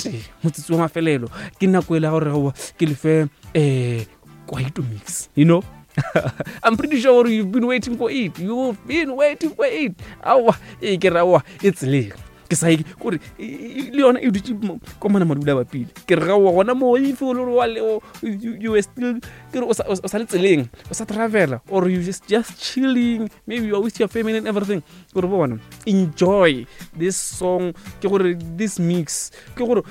tee motsotso wa mafelelo ke nako e la gore goba ke lefe um kwaito mix you know. I'm pretty sure you've been waiting for it. You've been waiting for it. Aowa, ee ke re aowa, e tseleng. Ke sa kore le yona e dutse ko mana madula bapile. Ke re gaowa gona mo if o le wa le you were still ke re o sa le tseleng, o sa travela or you just chilling, maybe you are with your family and everything. Gore bona enjoy this song, ke gore this mix, ke gore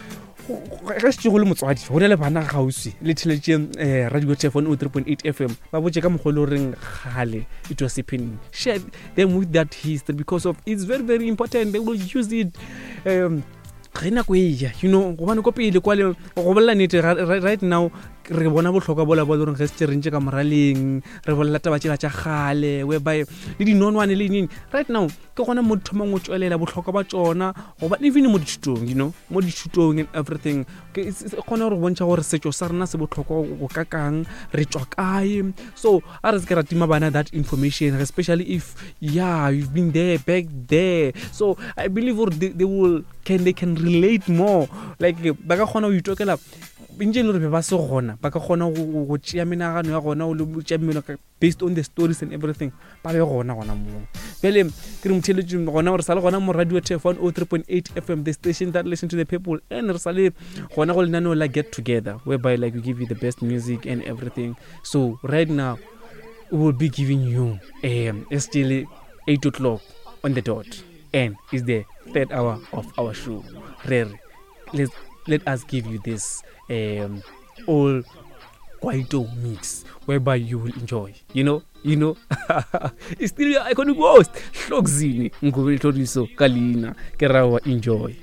ge se go le motswadi go na le bana gausi le theletše um eh, radio tf 103.8 fm ba botse ka mokgwa e le goreng gale it was happening. Share them with that history because of it's very very important. They will use it um ge nako e ja, you know, gobane ko pele kwale go bolela nete right now re bona bohlokwa bola bo le goreng ge setse re ntše ka moraleng re bolela taba tšela tša kgale whereby le dinonwane le neng. Right now ke gona mo di thomang go tšwelela bohlokwa ba tšona, goba even mo dithutong, you know, mo dithutong and everything. E kgona gore bontšha gore setšo sa rena se bohlokwa go kakang, re tšwa kae. So a re se ke ra tima bana that information, especially if yeah you've been there back there. So I believe gore they will can they can relate more, like ba ka kgona go itokela ntše e le gore be ba se gona, ba ka kgona go tšea menagano ya gona le tšea mmelo based on the stories and everything, ba be gona gona moo. Bjale ke re motheletšong gona gore sa le gona mo radio tf 103.8 FM, the station that listen to the people, and re sa le gona go lenaneo la Get Together, whereby like we give you the best music and everything. So right now we will be giving you it's still 8 o'clock on the dot and it's the third hour of our show. Re re let us give you this all kwaito mix whereby you will enjoy, you know, you know. It's still your iconic host Hlokzini Ngubeni Hloriso ka leina ke rawa. Enjoy.